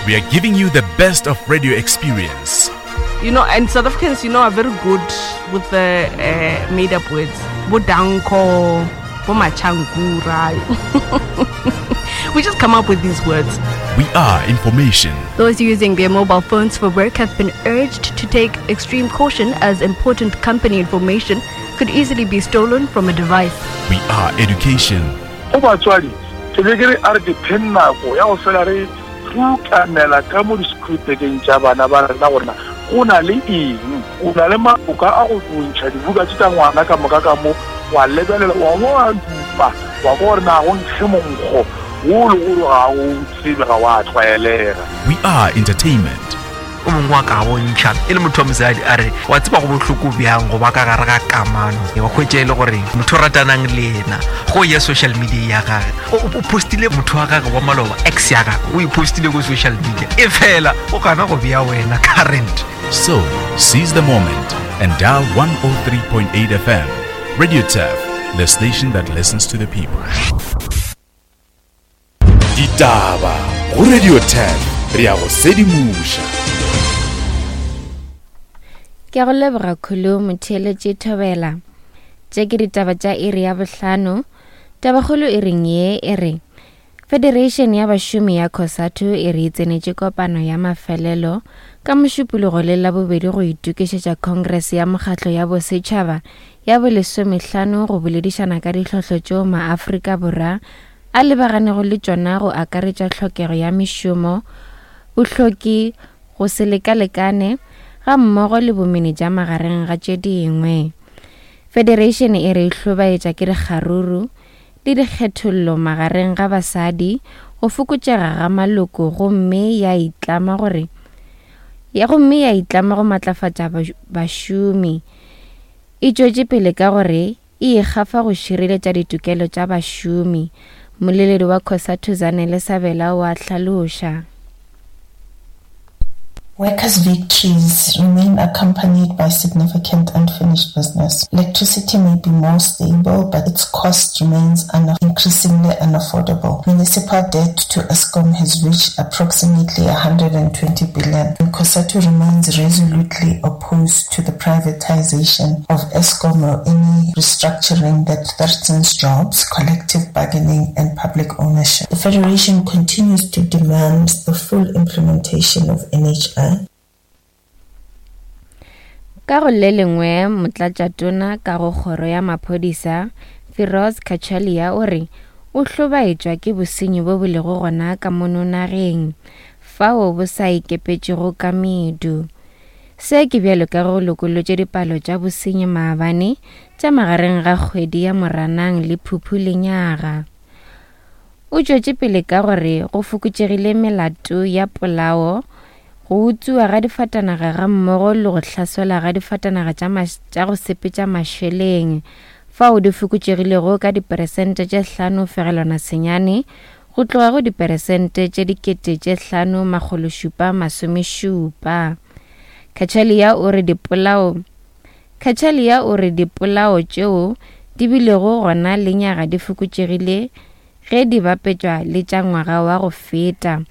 We are giving you the best of radio experience. You know, and South Africans, you know, are very good with the uh, made up words. Bodanko, Bomachankura. we just come up with these words. We are information. Those using their mobile phones for work have been urged to take extreme caution as important company information could easily be stolen from a device. We are education. Go batswadi, ke be ke re a re dipheng nako ya go fela re rukanela ka mo di-screwpekeng tša bana ba rena gore na go na le eng. O na le maboka a go ntšha dibuka tše tša ngwana ka moka ka mo, wa lebelela, wa bo wa dupa, wa kwa gore na go nkge monkgo wo le gore ga o tsebe, ga wa tlwaelega. We are entertainment. O mongwe wa ka bontšha e le motho wa mosadi a re wa tseba go bohloko bjang go ba ka gare ga kamano wa hwetša e le gore motho o ratanang le yena go ya social media ya gage o postile motho wa gage wa maloba ex ya gage o e postile ko social media e fela o gana go bea wena current. So, seize the moment and dial 103.8 FM. Radio Turf, the station that listens to the people. Ditaba go Radio 10 re ya go sedimoša. Ke go leboga Khulu motheeletši Thobela. Tše ke ditaba tša iri ya bohlano. Tabakgolo e reng ye e re Federation ya bašomi ya Cosatu e re e tsenetše kopano ya mafelelo ka Mošupologo le Labobedi go itokišetša Congress ya Mokgatlo ya Bosetšhaba ya bolesomehlano go boledišana ka ditlhohlo tšeo maAfrika Borwa a lebaganego le tšona go akaretša tlhokego ya mešomo, bohloki, go se lekalekane ga mmogo le bomenetša magareng ga tše dingwe. Federation e re e hlobaetša ke dikgaruru le dikgethollo magareng ga basadi, go fokotšega ga maloko gomme ya itlama gore ya gomme ya itlama go matlafatša bašomi. E tšwetše pele ka gore e ikgafa go šireletša ditokelo tša bašomi. Mmoleledi wa Cosatu Zanele Sabela o a hlaloša. Workers' victories remain accompanied by significant unfinished business. Electricity may be more stable, but its cost remains increasingly unaffordable. Municipal debt to Eskom has reached approximately 120 billion, and COSATU remains resolutely opposed to the privatization of Eskom or any restructuring that threatens jobs, collective bargaining, and public ownership. The Federation continues to demand the full implementation of NHI. Ka go le lengwe, Motlatšatona ka go Kgoro ya Maphodisa, Firoz Cachalia o re o hlobaetšwa ke bosenyi bo bo lego gona ka mono nageng, fao bo sa ikepetšego ka medu. Se ke bjalo ka ge go lokolotše dipalo tša bosenyi maabane tša magareng ga kgwedi ya Moranang le Phuphu lenyaga. O tšwetše pele ka gore go fokotšegile melato ya polao, go utswiwa ga difatanaga gammogo le go hlaselwa ga difatanaga tša tša go sepetša mašeleng, fao di fokotšegilego ka diperesente tše 5.9 go tloga go diperesente tše 5770. Cachalia o re dipolao Cachalia o re dipolao tšeo di bilego gona lenyaga di fokotšegile ge di bapetšwa le tša ngwaga wa go feta.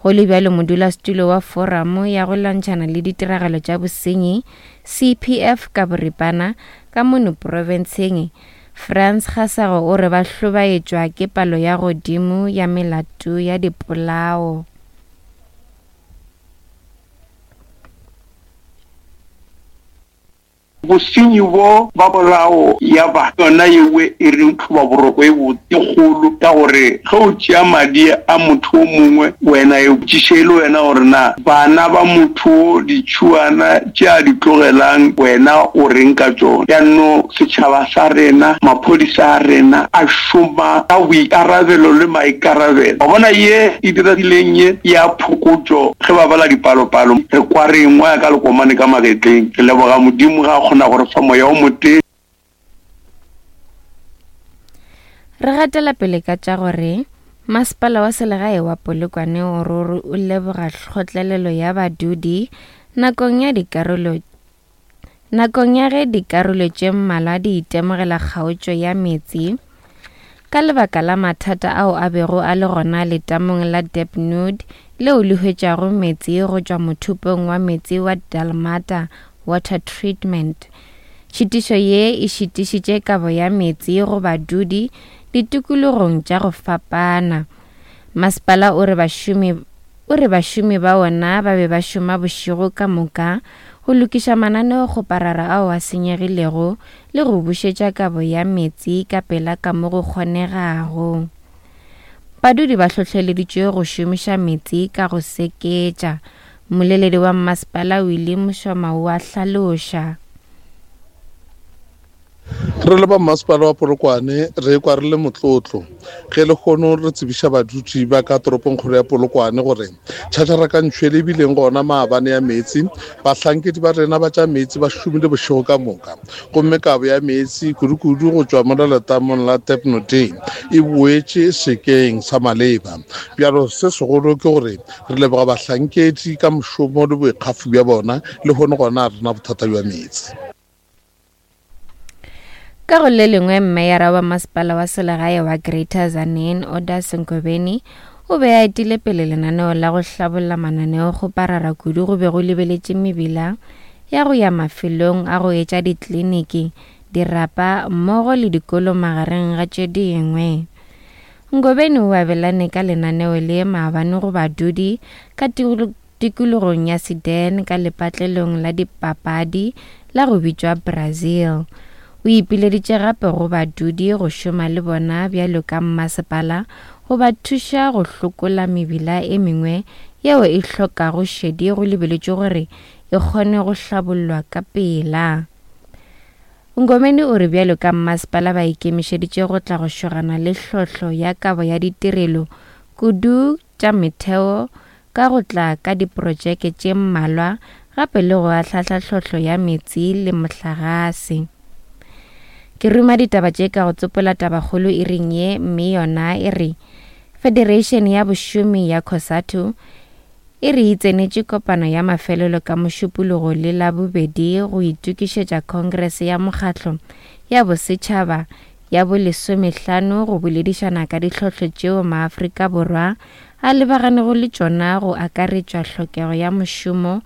Go le bjalo, modulasetulo wa Foramo ya go Lwantšhana le Ditiragalo tša Bosenyi, CPF ka boripana, ka mono profenseng, Frans Kgasago o re ba hlobaetšwa ke palo ya godimo ya melato ya dipolao. Bosenyi bo ba polao ya ba yona yewe e reng tlhobaboroko e botse e kgolo, ka gore ge o tšea madi a motho o mongwe wena e botšiše e le wena gore na bana ba motho wo ditšhuana tše a di tlogelang wena o reng ka tšona. Bjanno setšhaba sa rena, maphodisa a rena a šoma ka boikarabelo le maikarabelo. Wa bona ye e diregileng ye ya phokotšo ge ba bala dipalopalo, re kwa re engwaya ka lekomane ka magetleng. Re leboga Modimo ge a kgona go re fa moya o motee. Re gatela pele ka tša gore Masepala wa Selegae wa Polokwane o ruri o leboga kgotlelelo ya badudi nakong ya dikarolo Nakong ya ge dikarolo tše mmalwa di itemogela kgaotšo ya meetse, ka lebaka la mathata ao a bego a le gona letamong la Debnud leo le hwetšago meetse go tšwa mothopong wa meetse wa Dalmata Water Treatment. Tšhitišo ye e šitišitše kabo ya meetse go badudi ditikologong tša go fapana. Masepala o re bašomi o re bašomi ba wona ba be ba šoma bošego ka moka go lokiša mananeokgoparara ao a senyegilego le go bušetša kabo ya meetse ka pela ka mo go kgonegago. Badudi ba hlohleleditšwe go šomiša meetse ka go seketša. Mmoleledi wa mmasepala Willie Moshoma o a hlaloša. Re le ba mmasepala wa Polokwane re kwa re le motlotlo ge lehono re tsebiša badudi ba ka toropongkgolo ya Polokwane gore tšhatšharakantšho e bileng gona maabane ya meetse, bahlankedi ba rena ba tša meetse ba šomile bošego ka moka gomme kabo ya meetse kudukudu go tšwa mola letamong la Tepnoding e boetše sekeng sa maleba. Bjalo se segolo ke gore Re leboga bahlankedi ka mošomo le boikgafo bja bona. Lehono gona ga re na bothata bja meetse. Ka go le lengwe, Mmeyara wa Masepala wa Selegae wa Greater Tzaneen, Oda Senkobeni, o be a etile pele lenaneo la go hlabolla mananeokgoparara kudu go be go lebeletše mebila ya go ya mafelong a go etša dikliniki, dirapa mmogo le dikolo magareng ga tše dingwe. Ngobeni o abelane ka lenaneo le maabane go badudi ka tikologong ya Sedan ka lepatlelong la dipapadi la go bitšwa Brazil. O ipileditše gape go badudi go šoma le bona bjalo ka mmasepala go ba thuša go hlokola mebila e mengwe yeo e hlokago šedi go lebeletšwe gore e kgone go hlabollwa ka pela. Ngomeni o re bjalo ka mmasepala ba ikemišeditše go tla go šogana le hlohlo ya kabo ya ditirelo kudu tša metheo ka go tla ka diprotšeke tše mmalwa gape le go ahlahla hlohlo ya meetse le mohlagase. Ke ruma ditaba tše ka go tsopola tabakgolo iring ye mme yona e re Federation ya Bošomi ya Cosatu e re e tsenetše kopano ya mafelelo ka Mošupologo le Labobedi go itokišetša Khongrese ya Mokgatlo ya Bosetšhaba ya bolesomehlano go boledišana ka ditlhohlo tšeo maAfrika Borwa a lebaganego le tšona go akaretšwa hlokego ya mošomo,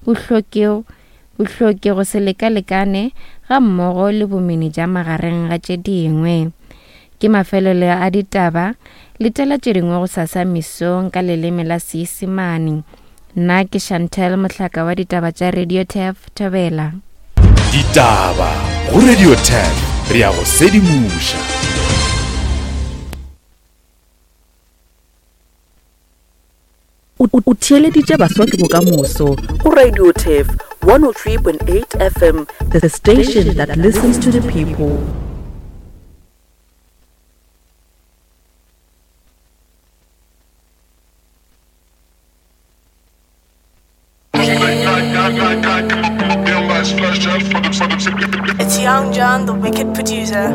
bohloki, bohloki go se lekalekane gammogo le bomenetša magareng ga tše dingwe. Ke mafelelo a ditaba, letela tše dingwe gosasa mesong ka leleme la Seisemane. Nna ke Chantel Mohlaka wa ditaba tša Radio Turf, Thobela. Ditaba go Radio Turf, re a go sedimoša. O theeleditše Baswa ke Bokamoso go Radio Turf 103.8 FM, the station that listens to the people. It's Young John, the wicked producer.